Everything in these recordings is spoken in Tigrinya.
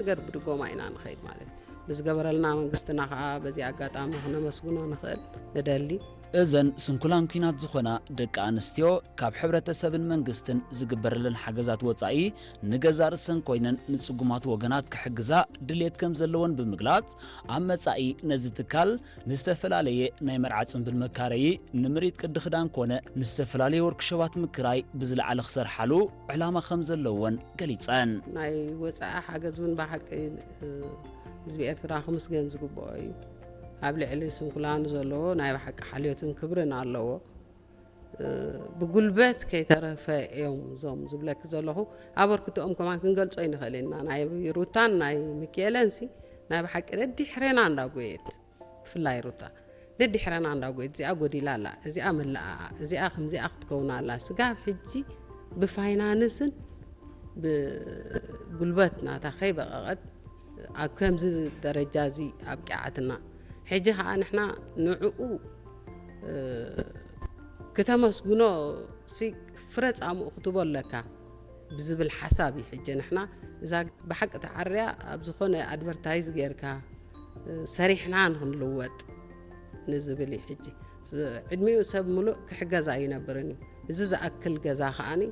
ነገር ብድጎማ ኢና ንኸይድ ማለት እዩ። ብዝገበረልና መንግስትና ከዓ በዚ ኣጋጣሚ ክነመስግኖ ንኽእል ንደሊ። እዘን ስንኩላን ኲናት ዝኾና ደቂ ኣንስትዮ ካብ ሕብረተሰብን መንግስትን ዝግበረለን ሓገዛት ወፃኢ ንገዛ ርእሰን ኮይነን ንፅጉማት ወገናት ክሕግዛ ድልየት ከም ዘለወን ብምግላፅ፣ ኣብ መፃኢ ነዚ ትካል ንዝተፈላለየ ናይ መርዓ ፅንብል መካረዪ፣ ንምርኢት ቅዲ ክዳን ኮነ ንዝተፈላለየ ወርክሾባት ምክራይ ብዝለዓለ ክሰርሓሉ ዕላማ ከም ዘለወን ገሊፀን። ናይ ወፃኢ ሓገዝ እውን ብሓቂ ህዝቢ ኤርትራ ክምስገን ዝግብኦ እዩ። ኣብ ልዕሊ ስንኩላን ዘለዎ ናይ ብሓቂ ሓልዮትን ክብርን ኣለዎ። ብጉልበት ከይተረፈ እዮም እዞም ዝብለኪ ዘለኹ። ኣበርክቶኦም ከማን ክንገልጾ ይንኽእል ኢና። ናይ ሩታን ናይ ሚኪኤለን ሲ ናይ ብሓቂ ደድሕሬና እንዳጎየት፣ ብፍላይ ሩታ ደድሕረና እንዳጎየት፣ እዚኣ ጎዲላ ኣላ፣ እዚኣ መለኣ፣ እዚኣ ከምዚኣ ክትከውን ኣላ። ስጋብ ሕጂ ብፋይናንስን ብጉልበት ናታ ከይበቐቐት ኣብ ከምዚ ደረጃ እዚ ኣብቂዓትና። ሕጂ ከዓ ንሕና ንዕኡ ክተመስግኖ ሲ ፍረ ጻምኡ ክትቦ ኣለካ ብዝብል ሓሳብ እዩ። ሕጂ ንሕና እዛ ብሓቂ ተዓርያ ኣብ ዝኾነ ኣድቨርታይዝ ጌርካ ሰሪሕና ንክንልወጥ ንዝብል እዩ። ሕጂ ዕድሚኡ ሰብ ምሉእ ክሕገዝ ኣይነብርን እዩ። እዚ ዝኣክል ገዛ ከዓኒ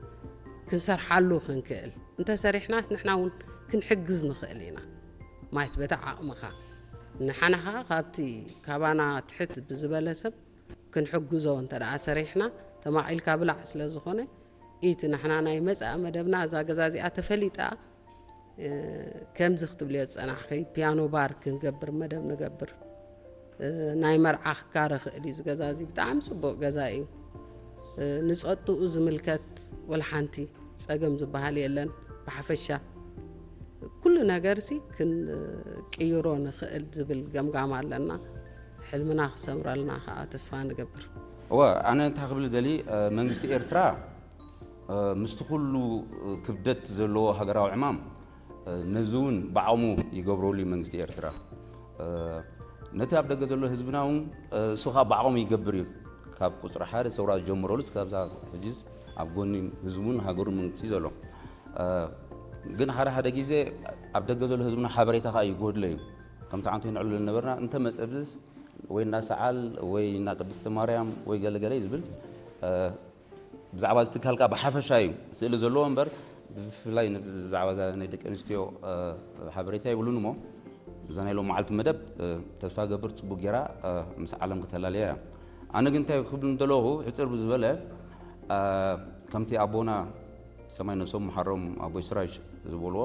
ክንሰርሓሉ ክንክእል እንተሰሪሕናስ ንሕና እውን ክንሕግዝ ንኽእል ኢና። ማለት በታ ዓቕምኻ ንሓና ከዓ ካብቲ ካባና ትሕት ብዝበለ ሰብ ክንሕግዞ እንተ ደኣ ሰሪሕና ተማቒልካ ብላዕ ስለ ዝኾነ እቲ ንሕና ናይ መጻኢ መደብና እዛ ገዛ እዚኣ ተፈሊጣ ከምዚ ክትብልዮ ዝጸናሕኺ ፒያኖ ባር ክንገብር መደብ ንገብር። ናይ መርዓ ክካረ ክእል እዩ። እዚ ገዛ እዚ ብጣዕሚ ጽቡቕ ገዛ እዩ። ንጸጥኡ ዝምልከት ወላ ሓንቲ ጸገም ዝበሃል የለን። ብሓፈሻ ኩሉ ነገርሲ ክንቅይሮ ንኽእል ዝብል ገምጋም ኣለና። ሕልምና ክሰምረልና ከዓ ተስፋ ንገብር። እወ፣ ኣነ እንታይ ክብል ደሊ መንግስቲ ኤርትራ ምስቲ ኩሉ ክብደት ዘለዎ ሃገራዊ ዕማም ነዚ እውን ብዓቕሙ ይገብረሉ እዩ መንግስቲ ኤርትራ። ነቲ ኣብ ደገ ዘሎ ህዝብና እውን እሱ ከዓ ብዓቕሙ ይገብር እዩ። ካብ ቁፅሪ ሓደ ሰውራ ዝጀመረሉ እስካብ ሕጂስ ኣብ ጎኒ ህዝቡን ሃገሩን መንግስቲ ዘሎ። ግን ሓደ ሓደ ግዜ ኣብ ደገ ዘሎ ህዝብና ሓበሬታ ከዓ ይጎድሎ እዩ። ከምቲ ዓንቶ ይንዕሉ ዝነበርና እንተ መፀብዝስ ወይ እና ሰዓል ወይ እና ቅድስተ ማርያም ወይ ገለገለ ዝብል ብዛዕባ እዚ ትካል ከዓ ብሓፈሻ እዩ ስእሊ ዘለዎ እምበር ብፍላይ ብዛዕባ እዛ ናይ ደቂ ኣንስትዮ ሓበሬታ የብሉን እሞ እዛ ናይ ሎም መዓልቲ መደብ ተስፋ ገብር ፅቡቅ ጌራ ምስ ዓለም ክተላለያ እያ። ኣነ ግን እንታይ ክብል እንደለኹ ሕፅር ብዝበለ ከምቲ ኣቦና ሰማይ ነሶም መሓሮም ኣቦይ ስራጅ ዝበልዎ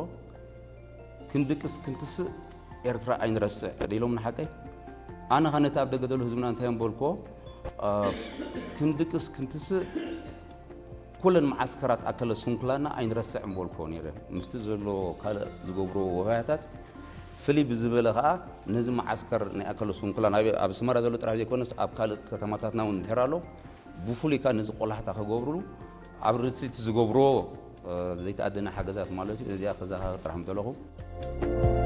ክንድቅስ ክንትስእ ኤርትራ ኣይንረስዕ ኢሎም ንሓቀይ ኣነ ኸ ነቲ ኣብ ደገ ዘሎ ህዝብና እንታይ እምበልኮ ክንድቅስ ክንትስእ ኩለን መዓስከራት ኣከለ ስንኩላና ኣይንረስዕ እምበልኮ ነይረ ምስቲ ዘሎ ካልእ ዝገብርዎ ወሃያታት ፍልይ ብዝበለ ከዓ ነዚ መዓስከር ናይ ኣከለ ስንኩላን ኣብ ኣስመራ ዘሎ ጥራሕ ዘይኮነስ ኣብ ካልእ ከተማታትና እውን እንድሕር ኣሎ ብፍሉይ ከዓ ነዚ ቆላሕታ ክገብርሉ ኣብ ርእሲ እቲ ዝገብርዎ ዘይተኣደነ ሓገዛት ማለት እዩ ነዚኣ ክዘኻኸር ጥራሕ ምተለኹ